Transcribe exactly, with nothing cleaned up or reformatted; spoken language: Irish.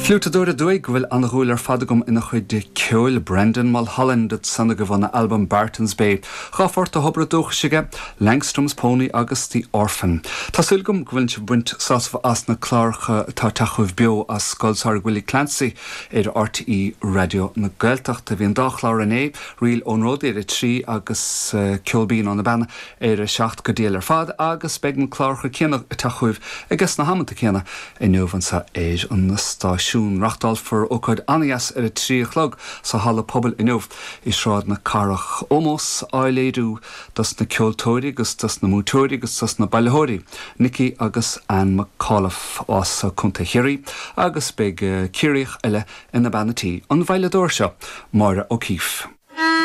Fliútadóir aduaidh go bhfuil an-dhúil ar fad agam ina chuid ceoil Brendan Mulholland san go bhna album Barton's Bay. Dhá phort dá obair dúchais aige, Langstrom's Pony agus The Orphan. Tá súil agam go bhfuil sibh ag baint sásamh as na cláracha atá ag teacht chugaibh beo as Scoil Samhraidh Willie Clancy ar RTÉ Raidió na Gaeltachta. Bhí an dá chlár inné Ríl ón Ród ar a trí agus uh, Ceol Binn ó na Beanna ar a seacht go diail ar fad agus beidh na cláracha céanna ag teacht chugaibh ag na hamanta céanna inniu anseo ar an stáisiún. Reáchtálfar ócáid an-deas ar a trí a chlog sa halla pobail inniu i Sráid na Cathrach ómós á léiriú dos na ceoltóirí agus dos na múinteoirí agus dos na bailitheoirí, Nicky agus Ann McAuliffe as Contae Chiarraí agus beidh Ciarraíoch eile ina bean tí an veidhleadóir seo, Máire O'Keeffe.